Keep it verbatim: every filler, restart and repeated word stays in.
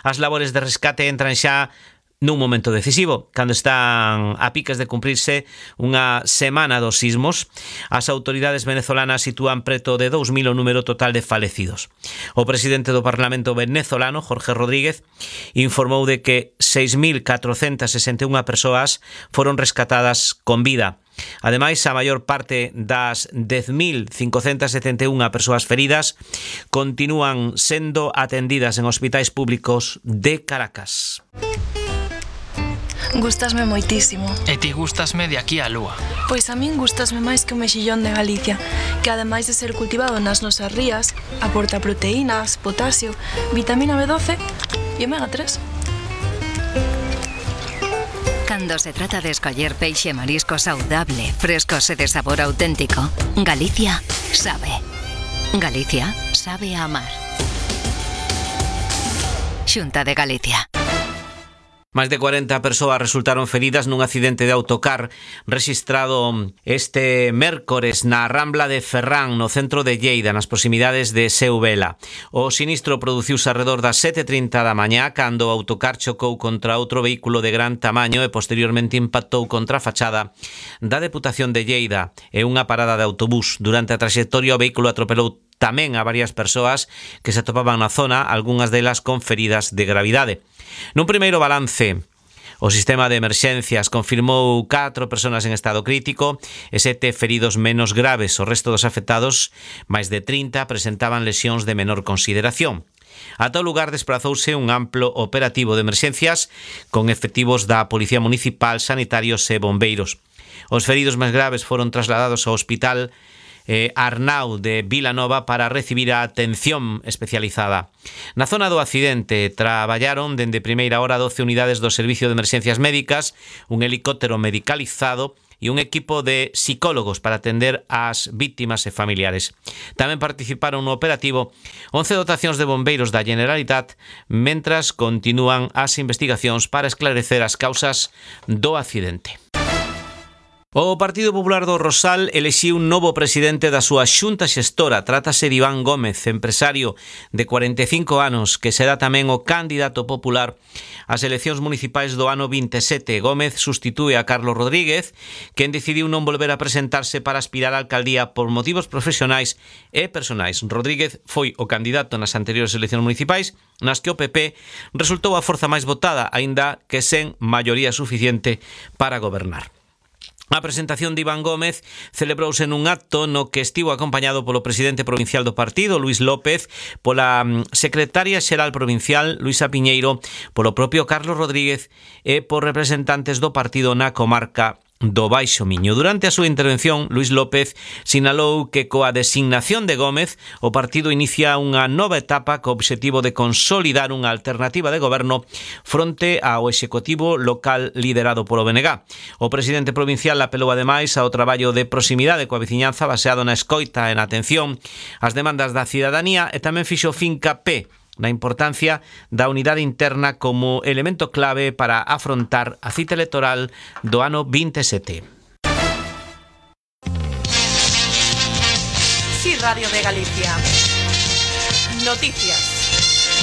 As labores de rescate entran xa nun momento decisivo, cando están a piques de cumprirse unha semana dos sismos. As autoridades venezolanas sitúan preto de dous mil o número total de falecidos. O presidente do Parlamento venezolano, Jorge Rodríguez, informou de que seis mil catrocentas sesenta e unha persoas foron rescatadas con vida. Ademais, a maior parte das dez mil cincocentas setenta e unha persoas feridas continúan sendo atendidas en hospitais públicos de Caracas. Gústasme moitísimo. E ti gústasme de aquí á lúa. Pois a min gústasme máis que o mexillón de Galicia, que ademais de ser cultivado nas nosas rías, aporta proteínas, potasio, vitamina B doce e omega tres. Cando se trata de escoller peixe e marisco saudable, frescos e de sabor auténtico, Galicia sabe. Galicia sabe a amar. Xunta de Galicia. Máis de cuarenta persoas resultaron feridas nun accidente de autocar rexistrado este mércores na Rambla de Ferrán, no centro de Lleida, nas proximidades de Seuvela. O sinistro produciuse arredor das sete e trinta da mañá, cando o autocar chocou contra outro vehículo de gran tamaño e posteriormente impactou contra a fachada da Deputación de Lleida e unha parada de autobús. Durante a traxectoria, o vehículo atropelou tamén a varias persoas que se atopaban na zona, algunhas delas con feridas de gravidade. Nun primeiro balance, o sistema de emerxencias confirmou catro persoas en estado crítico e sete feridos menos graves. O resto dos afectados, máis de trinta, presentaban lesións de menor consideración. A tal lugar desprazouse un amplo operativo de emerxencias con efectivos da Policía Municipal, sanitarios e bombeiros. Os feridos máis graves foron trasladados ao Hospital Eh, Arnau de Vilanova para recibir a atención especializada. Na zona do accidente traballaron dende primeira hora doce unidades do Servicio de Emerxencias Médicas, un helicóptero medicalizado e un equipo de psicólogos para atender ás vítimas e familiares. Tamén participaron no operativo once dotacións de bombeiros da Generalitat, mentras continúan as investigacións para esclarecer as causas do accidente. O Partido Popular do Rosal elixiu un novo presidente da súa xunta xestora. Trátase de Iván Gómez, empresario de cuarenta e cinco anos, que será tamén o candidato popular ás eleccións municipais do ano vinte e sete. Gómez sustitúe a Carlos Rodríguez, quen decidiu non volver a presentarse para aspirar á alcaldía por motivos profesionais e personais. Rodríguez foi o candidato nas anteriores eleccións municipais, nas que o P P resultou a forza máis votada, aínda que sen maioría suficiente para gobernar. A presentación de Iván Gómez celebrouse nun acto no que estivo acompañado polo presidente provincial do partido, Luís López, pola secretaria xeral provincial, Luisa Piñeiro, polo propio Carlos Rodríguez e por representantes do partido na comarca do Baixo Miño. Durante a súa intervención, Luís López sinalou que coa designación de Gómez o partido inicia unha nova etapa co obxectivo de consolidar unha alternativa de goberno fronte ao executivo local liderado polo B N G. O presidente provincial apelou ademais ao traballo de proximidade coa veciñanza baseado na escoita e na atención ás demandas da cidadanía e tamén fixo fincapé na importancia da unidade interna como elemento clave para afrontar a cita electoral do ano vinte e sete. Sí, Radio de Galicia. Noticias.